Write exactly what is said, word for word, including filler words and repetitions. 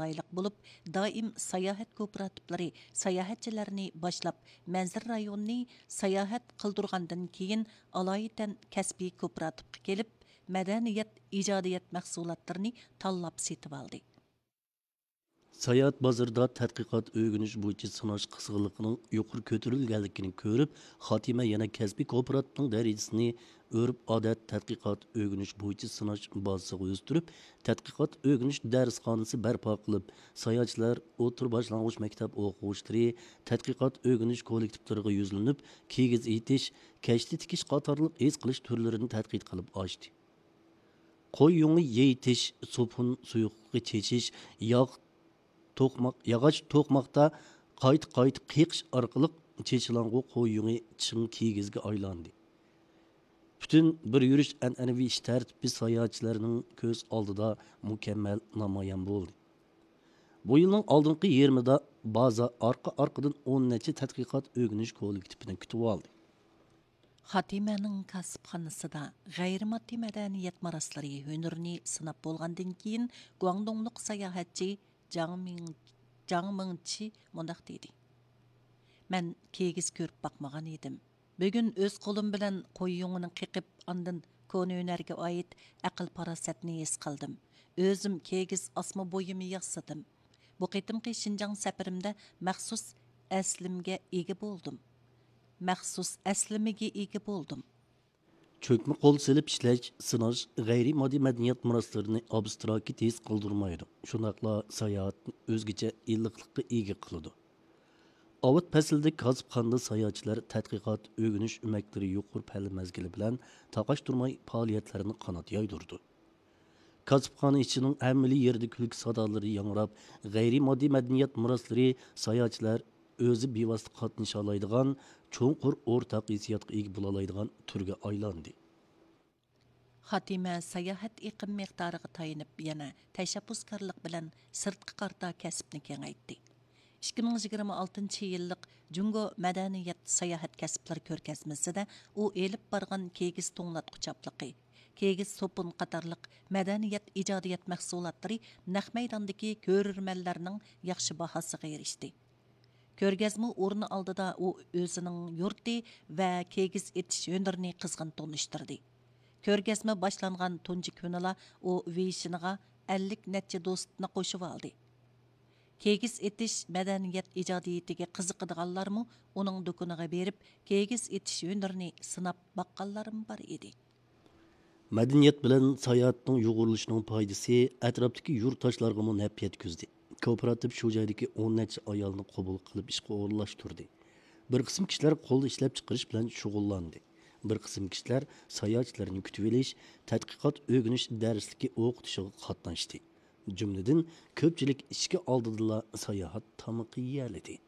چىرايلىق بولۇپ، دائىم ساياھەت كوپىراتىپلىرى ساياھەتچىلەرنى باشلاپ، مەنزىرە رايونىنى ساياھەت قىلدۇرغاندىن كېيىن، ئالايىتەن كەسپىي كوپىراتىپقا كېلىپ، مەدەنىيەت، ئىجادىيەت مەھسۇلاتلىرىنى تاللاپ سېتىۋالدى. ساياھەت بازىرىدا تەتقىقات ئۆگىنىش بويىچە سىناش قىزغىنلىقىنىڭ يۇقىرى كۆتۈرۈلگەنلىكىنى كۆرۈپ، خاتىمە يەنە كەسپىي كوپىراتىپنىڭ دەرىجىسىنى ئۆرپ-ئادەت تەتقىقات ئۆگىنىش بويىچە سىناش بازىسىغا ئۆستۈرۈپ، تەتقىقات ئۆگىنىش دەرسخانىسى بەرپا قىلىپ، ساياھەتچىلەر، ئوتتۇرا، باشلانغۇچ مەكتەپ ئوقۇغۇچىلىرى، تەتقىقات ئۆگىنىش كوللېكتىپلىرىغا يۈزلىنىپ، كىگىز ئېتىش، كەشتە تىكىش قاتارلىق ھېس قىلىش تۈرلىرىنى تەتقىق قىلىپ ئاشتى. قوي يۇڭى يېيىتىش، سوپۇن سۇيۇقلۇقى چېچىش، ياغ توقماق، ياغاچ توقماقتا قايتا-قايتا قېقىش ئارقىلىق چېچىلغان قوي يۇڭى چىڭ كىگىزگە ئايلاندى. پۈتۈن بىر يۈرۈش ئەنئەنىۋى ئىش تەرتىپى ساياھەتچىلەرنىڭ كۆز ئالدىدا مۇكەممەل نامايان بولدى. بۇ يىلنىڭ ئالدىنقى يېرىمىدا بازا ئارقا-ئارقىدىن ئون نەچچە تەتقىقات ئۆگىنىش كوللېكتىپىنى كۈتۈۋالدى. خاتىمەنىڭ كاسىپخانىسىدا غەيرىي ماددىي مەدەنىيەت مىراسلىرى ھۈنىرىنى سىناپ بولغاندىن كېيىن، گۇاڭدۇڭلۇق ساياھەتچى جاڭ مىڭ-، جاڭ مىڭچى مۇنداق دېدى: مەن كىگىز كۆرۈپ باقمىغان ئىدىم. بۈگۈن ئۆز قولۇم بىلەن قوي يۇڭىنى قېقىپ، ئاندىن كونا ھۈنەرگە ئائىت ئەقىل-پاراسەتنى ھېس قىلدىم. ئۆزۈم كىگىز ئاسما بۇيۇمى ياسىدىم. بۇ قېتىمقى شىنجاڭ سەپىرىمدە مەخسۇس ئەسلىمىگە ئىگە بولدۇم. مەخسۇس ئەسلىمىگە ئىگە بولدۇم. چۆكمە قول سېلىپ ئىشلەش، سىناش غەيرىي ماددىي مەدەنىيەت مىراسلىرىنى ئابستراكت ھېس قىلدۇرمايدۇ، شۇنداقلا ساياھەتنى ئۆزگىچە ئىللىقلىققا ئىگە قىلىدۇ. ئاۋات پەسلىدە كاسىپخانىدا ساياھەتچىلەر تەتقىقات، ئۆگىنىش ئۆمەكلىرى يۇقىرى پەللە مەزگىلى بىلەن تاقاشتۇرماي پائالىيەتلىرىنى قانات يايدۇرىدۇ. كاسىپخانا ئىچىنىڭ ھەممىلا يېرىدە كۈلكە سادالىرى ياڭراپ، غەيرىي ماددىي مەدەنىيەت مىراسلىرى ساياھەتچىلەر ئۆزى بىۋاسىتە قاتنىشالايدىغان، چوڭقۇر ئورتاق ھېسسىياتقا ئىگە بولالايدىغان تۈرگە ئايلاندى. خاتىمە ساياھەت ئېقىم مىقدارىغا تايىنىپ، يەنە تەشەببۇسكارلىق بىلەن سىرتقا قارىتا كەسىپنى كېڭەيتتى. ئىككى مىڭ يىگىرمە ئالتىنچى يىللىق جۇڭگو مەدەنىيەت ساياھەت كەسىپلىرى كۆرگەزمىسىدە ئۇ ئېلىپ بارغان كىگىز توڭلاتقۇچاپلىقى، كىگىز سوپۇن قاتارلىق مەدەنىيەت ئىجادىيەت مەھسۇلاتلىرى نەق مەيداندىكى كۆرۈرمەنلەرنىڭ ياخشى باھاسىغا ئېرىشتى. كۆرگەزمە ئورنى ئالدىدا ئۇ ئۆزىنىڭ يۇرتى ۋە كىگىز ئېتىش ھۈنىرىنى قىزغىن تونۇشتۇردى. كۆرگەزمە باشلانغان تۇنجى كۈنىلا ئۇ ۋېيشىنىغا ئەللىك نەچچە دوستنى قوشۇۋالدى. كىگىز ئېتىش مەدەنىيەت ئىجادىيىتىگە قىزىقىدىغانلارمۇ ئۇنىڭ دۇكىنىغا بېرىپ، كىگىز ئېتىش ھۈنىرىنى سىناپ باققانلارمۇ بار ئىدى. مەدەنىيەت بىلەن ساياھەتنىڭ يۇغۇرۇلۇشىنىڭ پايدىسى ئەتراپتىكى يۇرتداشلارغىمۇ نەپ يەتكۈزدى. كوپىراتىپ شۇ جايدىكى ئون نەچچە ئايالنى قوبۇل قىلىپ ئىشقا ئورۇنلاشتۇردى. بىر قىسىم كىشىلەر قول ئىشلەپچىقىرىش بىلەن شۇغۇللاندى. بىر قىسىم كىشىلەر ساياھەتچىلەرنى كۈتۈۋېلىش، تەتقىقات ئۆگىنىش دەرسلىكى ئوقۇتۇشىغا قاتناشتى. جۈملىدىن كۆپچىلىك ئىشىكى ئالدىدىلا ساياھەت تامىقى يېيەلىدى.